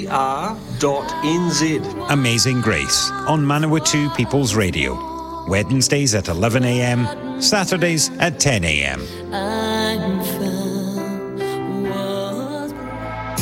R.NZ. Amazing Grace on Manawatu People's Radio. Wednesdays at 11 a.m., Saturdays at 10 a.m.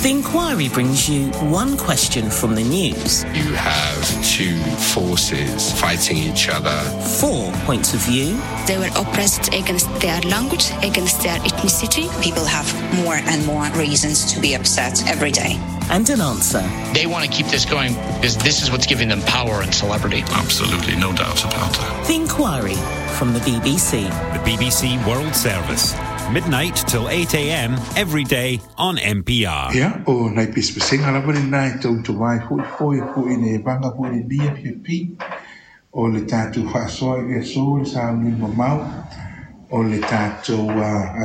The Inquiry brings you one question from the news. You have two forces fighting each other. Four points of view. They were oppressed against their language, against their ethnicity. People have more and more reasons to be upset every day. And an answer. They want to keep this going because this is what's giving them power and celebrity. Absolutely, no doubt about that. The Inquiry from the BBC. The BBC World Service. Midnight till 8 a.m. every day on MPR. Ia, o nai pesepesega lava lenā e tautuā ai foi foe foi le vaga foi le lia fiapi o le tatou faasoa i le aso le sauni mamao o le tatou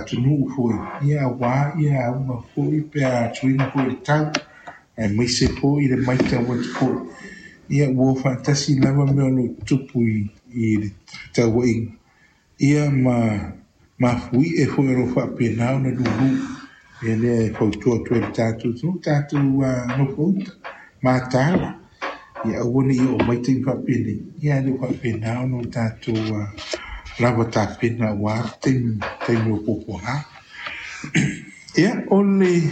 atunuu foi ia auā ia auga foi pe a suiga foi le tau aemaise foi le maitau atu foi ia ua faatasi lava mea o loo tutupu i le tauaiga ia ma mafuie foi o loo faapena ona lulu ia lea e fautua atu ai le tatou atunuu tatou nofouta mataala ia aua nei oo mai taimi faapenei ia ae le o faapena ona o tatou lava tapena auā taimi taimi o puapuaga. Ia o le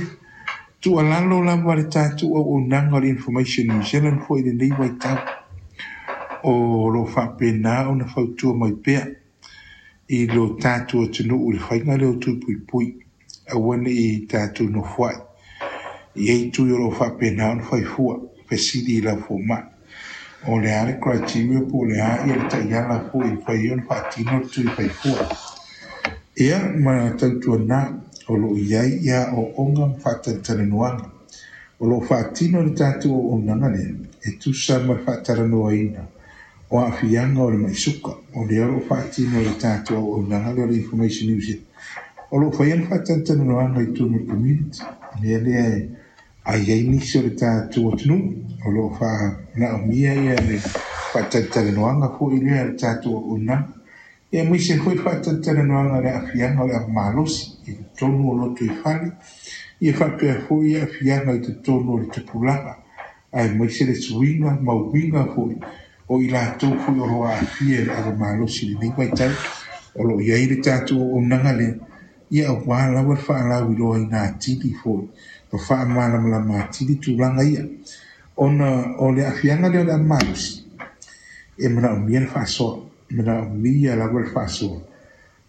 tuualalo lava le tatou auaunaga o le Information New Zealand foi i lenei vaitau o loo faapena ona fautua mai pea i lo tatou atunuu i le faiga lea o tui puipui aua nei tatou nofoai i ai tui o loo faapena ona faifua fesili i lau fomai o le a le criteria po o le a ia le taiala foi e fai ona faatino le tui faifua ia ma tautuanā o loo i ai ia aoaoga ma faatalatalanoaga o loo faatino le tatou auaunaga lea e tusa ma le faatalanoaina o aafiaga o le mai suka o lea o loo faatino le tatou auaunaga lea o le Information New Zealand o loo faia le faatalatalanoaga i totonu o le community lea lea ai ai nisi o le tatou atunuu o loo faanaomia ia le faatalatalanoaga foi lea le tatou auaunaga ia aemaise foi faatalatalanoaga le aafiaga o le ava malosi i totonu o loto i fale ia faapea foi aafiaga i totonu o le tupulaga aemaise le suiga ma uiga foi o i latou foi o loo aafia i le ava malosi lenei vaitau o loo i ai le tatou auaunaga lea ia auā lava le faalauiloaina atili foi ma faamalamalama atili tulaga ia ona o le aafiaga lea o le ava malosi e manaomia le faasoa manaomia lava le faasoa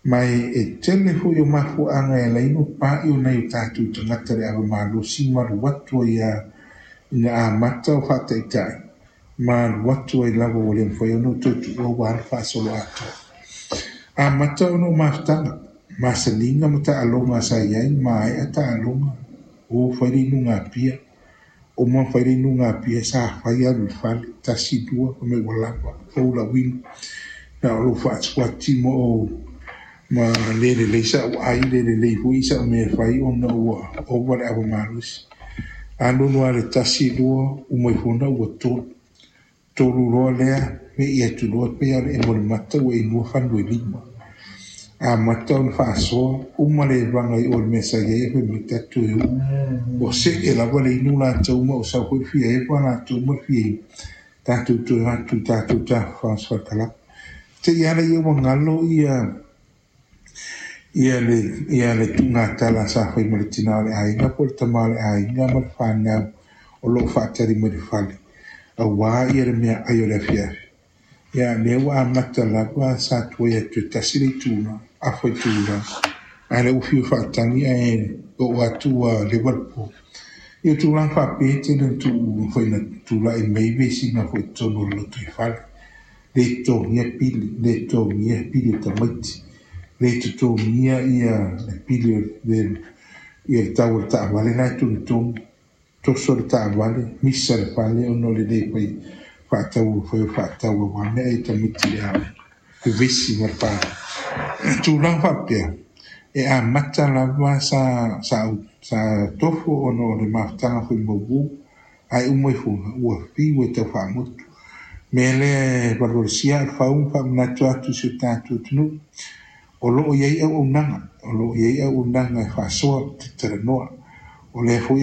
ma e tele foi o mafuaaga e ala ai ona pa'i o nai o tatou tagata le ava malosi ma alu atu ai a ina amata o faataitai ma alu atu ai lava ua le mafai ona toe tuua ua le faasolo atoa. Amata ona o mafutaga, masaniga ma taaloga sa i ai maea taaloga o fai le inuga apia o ma fai le inuga apia sa fai alu i le fale tasi lua fai mai ua lava fou lau inu na o lou faatuati ma ou ma le lelei sa'u ai le lelei foi sa'u mea e fai ona ua ova le ava malosi. Alualu lava le tasi lua uma ifo ua tolu tolu loa lea me'i atu loa pei lava o le emo o le mata ua inua fanu e lima. Amata ona faasoa uma le evaga i o le mea sa i ai fai mai tatou e uu ua see lava le inu latou ma ua sau foi le fia eva latou ma le fia inu tatou toe o atu i tatou tafafao sefalakalapa. Te i ala ia ua galo ia ia le ia le tuugatala sa fai ma le tinā o le aiga po o le tama o le aiga ma le fanau o loo faatali mai le fale auā ia le meaai o le afiafi. Ia lea ua amata lava sa tuai atu e tasi le itula afa itula ae lea ua fiu faatagi ae oo atu ua leva le po. Ia tulaga faapea e tele ona tuu foi na tulai mai vesiga foi i totonu o le lotoifale. Le totogia pili, le totogia pili o tamaiti, le totogia ia le pili o le ia le tau o le taavale la e togitogi, toso le taavale, misa le fale ona o le le fai faatau fai o faatau auā mea e tamaiti le aoga, vevesi ma le fale. Tulaga faapea, e amata lava sa sa sa tofo ona o le mafutaga foi mauū ae uma ifoga ua fiu e tau faamotu. Mea lea e valuvalusia le fau ma faamanatu atu i si o tatou atunuu o loo i ai auaunaga, o loo i ai auaunaga e faasoa talanoa. O lea foi